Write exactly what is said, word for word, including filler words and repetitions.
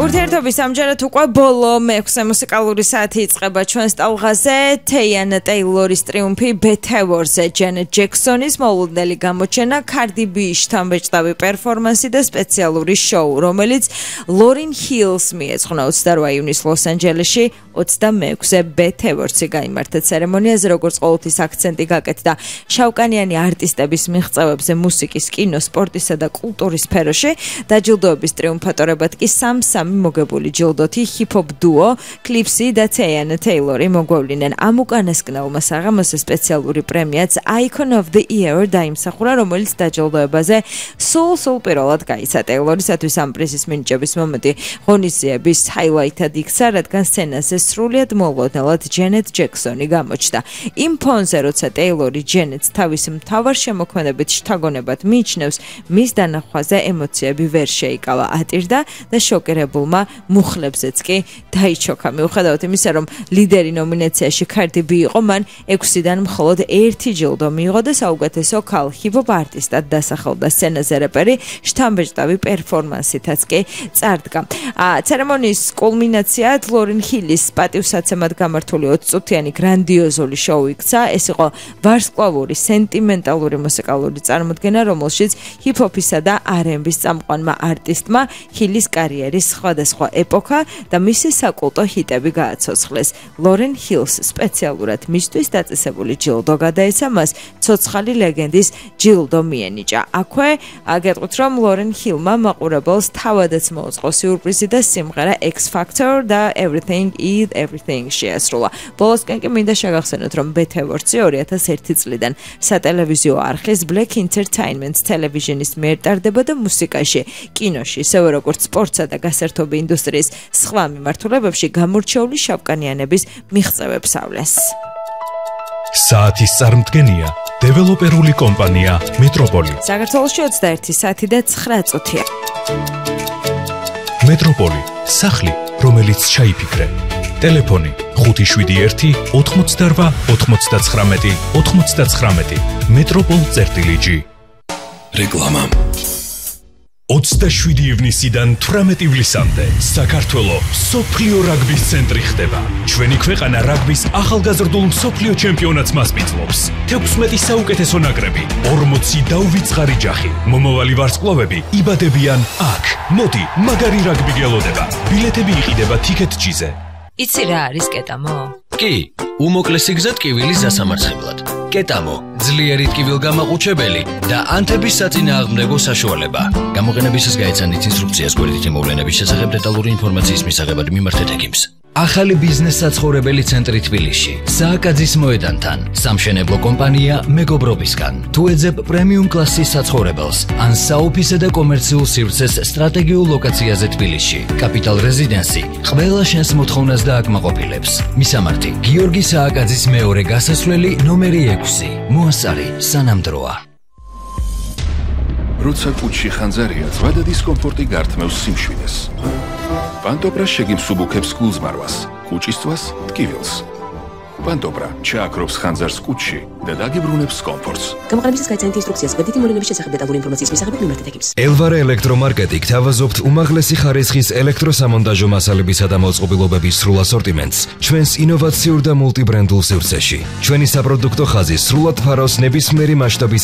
ურთიერთობის ამჯერად უკვე ბოლო მეექვსე მუსიკალური საათი იწყება ჩვენს ტალღაზე. თეიანა ტეილორის ტრიუმფი Beat Awards-ზე ჯენეტ ჯექსონის მოულოდნელი გამოჩენა, Cardi B-ის შთამბეჭდავი პერფორმანსი და სპეციალური შოუ, რომელიც ლორინ ჰილს მიეძღვნა ოცდაორ ივნისს ლოს-ანჯელესში ოცდამეექვსე Beat Awards-ი გაიმართა ცერემონიაზე, როგორც ყოველთვის აქცენტი გაკეთდა შავკანიანი არტისტების მიღწევებზე მუსიკის, კინო, სპორტისა და კულტურის სფეროში. დაჯილდოების ტრიუმფატორებად კი სამ-სამი მოგებული ჯილდოთი ჰიპ-ჰოპ დუო კლიფსი და თეიანა ტეილორი მოგვევლინენ. ამ უკანასკნელმა საღამოს სპეციალური პრემიაც Icon of the Year დაიმსახურა, რომელიც დაჯილდოებაზე სულ-სულ პირველად გაიცა. ტეილორისათვის ამ პრიზის მინიჭების მომენტი ღონისძიების ჰაილაითად იქცა, რადგან სცენაზე სრულიად მოულოდნელად ჯენეტ ჯექსონი გამოჩნდა. იმ ფონზე, როცა ტეილორი ჯენეტს თავის მთავარ შემოქმედებით შთაგონებად მიიჩნევს, მის დანახვაზე ემოციები ვერ შეიკავა, ატირდა და შოკირებულმა მუხლებზეც კი დაიჩოქა. მიუხედავად იმისა, რომ ლიდერი ნომინაციაში Cardi B იყო, მან ექვსიდან მხოლოდ ერთი ჯილდო მიიღო და საუკეთესო ქალ ჰიპ-ჰოპ არტისტად დასახელდა. სცენაზე რეპერი შთამბეჭდავი პერფორმანსითაც კი წარდგა. ცერემონიის კულმინაციად ლორინ ჰილის პატივსაცემად გამართული ოცწუთიანი გრანდიოზული შოუ იქცა. ეს იყო ვარსკვლავური სენტიმენტალური მუსიკალური წარმოდგენა, რომელშიც ჰიპ-ჰოპისა და არ ენდ ბის წამყვანმა არტისტმა ჰილის კარიერის სხვადასხვა ეპოქა და მისი საკულტო ჰიტები გააცოცხლეს. ლორენ ჰილს სპეციალურად მისთვის დაწესებული ჯილდო გადაეცა, მას ცოცხალი ლეგენდის ჯილდო მიენიჭა. აქვე აგეტყვით, რომ ლორენ ჰილმა მაყურებელს თავადაც მოუწყო სიურპრიზი და სიმღერა X Factor და Everything is Everything შეასრულა. ბოლოსკენ კი მინდა შეგახსენოთ, რომ Beat Awards-ი ორი ათას ერთი წლიდან სატელევიზიო არხის Black Entertainment ტელევიზიონის მიერ ტარდება და მუსიკაში, კინოში, ისევე როგორც სპორტსა და გასართობი ინდუსტრიის სხვა მიმართულებებში გამორჩეული შავკანიანების მიღწევებს ავლეს. საათის წარმდგენია დეველოპერული კომპანია მეტროპოლი. საქართველოში ოცდაერთი საათი და ცხრა წუთია. მეტროპოლი, სახლი, რომელიც ჩაიფიქრე. ტელეფონი ხუთი შვიდი ერთი ოთხმოცდაორვა ოთხმოცდაცხრამეტი ოთხმოცდაცხრამეტი. მეტროპოლ წერტილი ჯი. რეკლამა. ოცდაშვიდი ივნისიდან თვრამეტი ივლისამდე საქართველო მსოფლიო რაგბის ცენტრი ხდება. ჩვენი ქვეყანა რაგბის ახალგაზრდულ მსოფლიო ჩემპიონატს მასპინძლობს. თექვსმეტი საუკეთესო ნაკრები, ორმოცი დაუვიწყარი ჯახი. მომავალი ვარსკვლავები იბადებიან აქ. მოდი, მაგარი რაგბი გელოდება. ბილეთები იყიდება TicketJet-ზე. იცი რა არის კეტამო? კი, უმოკლესი გზა ტკივილის დასამარცხებლად. კეტამო, ძლიერი ტკივილგამაყუჩებელი და ანთების საწინააღმდეგო საშუალება. გამოყენებისას გაეცანით ინსტრუქციას გვერდითი მოვლენების შესახებ დეტალური ინფორმაციის მისაღებად მიმართეთ ექიმს. ახალი ბიზნეს საცხოვრებელი ცენტრი თბილისში, სააკაძის მოედანთან, სამშენებლო კომპანია მეგობრობისგან. თუ ეძებ პრემიუმ კლასის საცხოვრებელს, ან საოფისე და კომერციულ სივრცეს სტრატეგიულ ლოკაციაზე თბილისში, კაპიტალ რეზიდენსი ყველა შენს მოთხოვნას დააკმაყოფილებს. მისამართი: გიორგი სააკაძის მეორე გასასვლელი ნომერი ექვსი. მოასწარი სანამდროა. როცა კუჩში ხანძარია, ზვადა დისკომფორტი გართმევს სიმშვიდეს. პანტობრა შეგიმსუბუქებს გულზმარვას, კუჭისთვის ტკივილს. პანტობრა ჩააქრობს ხანძარს კუჩში და დაგიბრუნებს კომფორტს. გამოყენებისას გაეცანით ინსტრუქციას გვერდითი მოვლენების შესახებ დეტალური ინფორმაციის მისაღებად მიმართეთ ექიმს. ელვარე ელექტრომარკეტი გთავაზობთ უმაღლესი ხარისხის ელექტროსამონტაჟო მასალებისა და მოწყობილობების სრულ ასორტიმენტს ჩვენს ინოვაციურ და მულტიბრენდულ სივრცეში. ჩვენი საპროდუქტო ხაზი სრულად ფარავს ნებისმიერი მასშტაბის